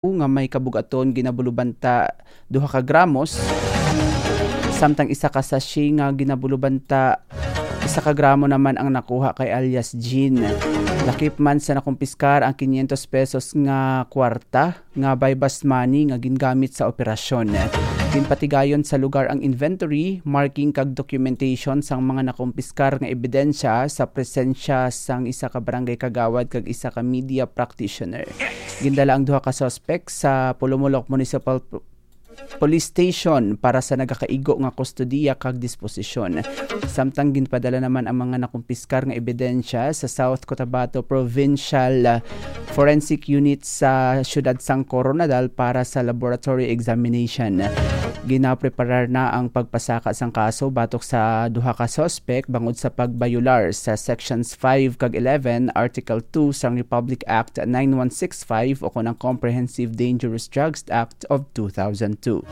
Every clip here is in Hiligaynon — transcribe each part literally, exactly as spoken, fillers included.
nga may kabugaton ginabulubanta duha ka gramos, samtang isa ka sachet nga ginabulubanta isa ka gramo naman ang nakuha kay alias Jean. Lakip man sa nakumpiskar ang quinientos pesos nga kwarta nga buy-bust money nga gingamit sa operasyon. Ginpatigayon sa lugar ang inventory, marking kag documentation sang mga nakumpiskar nga ebidensya sa presensya sang isa ka barangay kagawad kag isa ka media practitioner. Gindala ang duha ka suspek sa Polomolok Municipal P-, Police Station para sa nagakaigo nga kustodiya kag disposisyon. Samtang ginpadala naman ang mga nakumpiskar nga ebidensya sa South Cotabato Provincial, ah, Forensic Unit sa siyudad sang Koronadal para sa laboratory examination. Ginapreparar na ang pagpasaka sang kaso batok sa duha ka suspek bangod sa pagbayular sa Sections five kag eleven, Article two sang Republic Act nine one six five o kon ang Comprehensive Dangerous Drugs Act of two thousand two.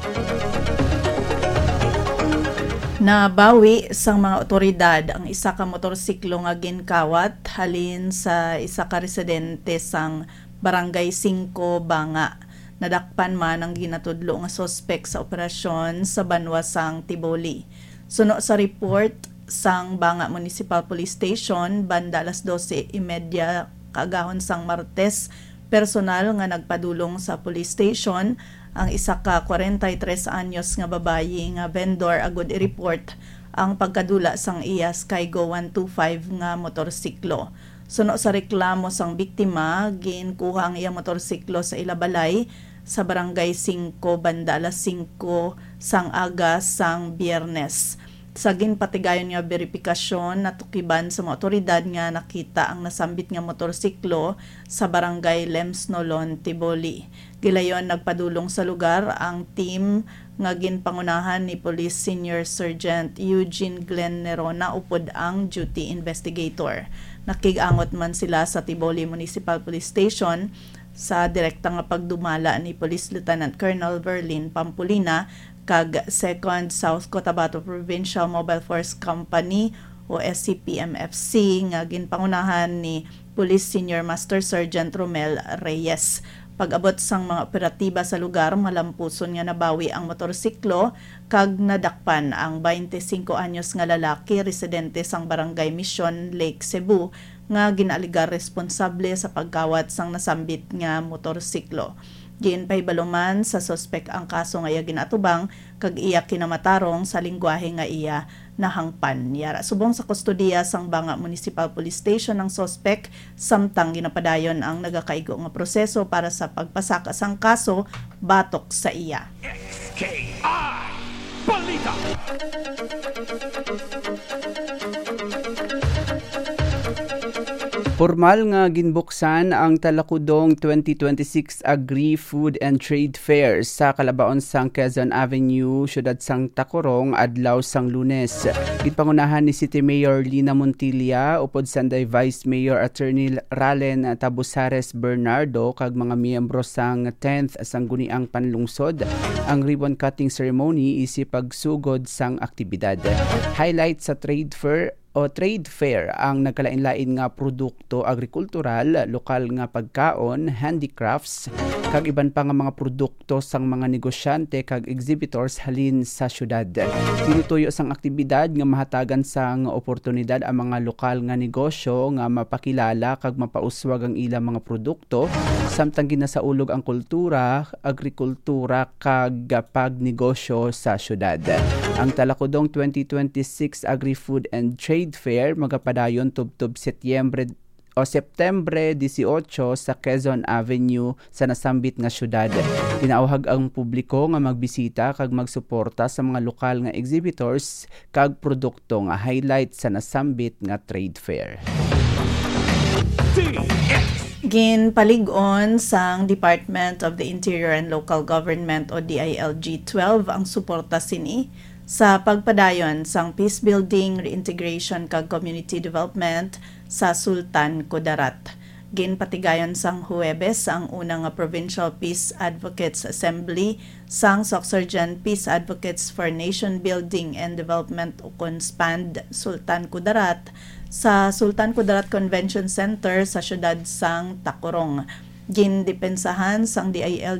Nabawi sang mga awtoridad ang isa ka motorsiklo nga ginkawat halin sa isa ka residente sang Barangay Singko, Banga. Nadakpan man ang ginatudlo nga suspek sa operasyon sa banwa sang Tiboli. Suno sa report sang Banga Municipal Police Station, banda alas dose y media kaagahon sang Martes, personal nga nagpadulong sa police station ang isa ka kwarenta y tres anyos nga babayi nga vendor agud i-report ang pagkadula sang iya Skygo one two five nga motorsiklo. Suno sa reklamo sang biktima, ginkuha ang iya motorsiklo sa ila balay sa Barangay Singko banda alas singko sang aga sang Biyernes. Sa ginpatigayon nga beripikasyon, natukiban sa mga awtoridad nga nakita ang nasambit nga motorsiklo sa Barangay Lemsnolon, Tiboli. Gilayon nagpadulong sa lugar ang team nga ginpangunahan ni Police Senior Sergeant Eugene Glenn Nerona upod ang duty investigator. Nakig-angot man sila sa Tiboli Municipal Police Station sa direkta nga pagdumala ni Police Lieutenant Colonel Verlin Pampolina kag Second South Cotabato Provincial Mobile Force Company o S C P M F C nga ginpangunahan ni Police Senior Master Sergeant Romel Reyes. Pag-abot sang mga operatiba sa lugar, malampuson nga nabawi ang motorsiklo kag nadakpan ang twenty-five anyos nga lalaki residente sang Barangay Mission, Lake Cebu, nga ginaalegar responsable sa pagkawat sang nasambit nga motorsiklo. Ginpahibalo man sa suspek ang kaso nga iya ginaatubang kag iya kinamatarong sa linggwahe nga iya nahangpan. Yara, subong sa kustodiya sang Banga Municipal Police Station ang suspek, samtang ginapadayon ang nagakaigo nga proseso para sa pagpasaka sang kaso batok sa iya. X K I Balita. Pormal nga ginbuksan ang Talakudong twenty twenty-six Agri-Food and Trade Fair sa kalabaon sang Quezon Avenue, siyudad sang Tacurong, adlaw sang Lunes. Ginpangunahan ni City Mayor Lina Montilla upod Sanday Vice Mayor Attorney Ralen Tabusares Bernardo kag mga miyembro sang tenth Sangguniang Panlungsod ang ribbon cutting ceremony isip pagsugod sang aktibidad. Highlight sa trade fair o trade fair ang nagkalain-lain nga produkto agrikultural, lokal nga pagkaon, handicrafts, kag iban pa nga mga produkto sang mga negosyante kag exhibitors halin sa syudad. Tinutuyo sang aktibidad nga mahatagan sang oportunidad ang mga lokal nga negosyo nga mapakilala kag mapauswag ang ilang mga produkto, samtang ginasaulog ang kultura, agrikultura, kag pagnegosyo sa syudad. Ang Talakudong twenty twenty-six Agri-Food and Trade Fair magapadayon tubtob Setyembre o Septembre dieciocho sa Quezon Avenue sa nasambit nga syudad. Ginaawhag ang publiko nga magbisita kag magsuporta sa mga lokal nga exhibitors kag produkto nga highlight sa nasambit nga trade fair. Ginpalig-on sang Department of the Interior and Local Government o D I L G twelve ang suporta sini sa pagpadayon sang peace building, reintegration, kag community development sa Sultan Kudarat. Ginpatigayon sang Huwebes ang una nga Provincial Peace Advocates Assembly sang Sorsogon Peace Advocates for Nation Building and Development, ukon SPAND, Sultan Kudarat, sa Sultan Kudarat Convention Center sa siyudad sang Tacurong. gindepensahan sang D I L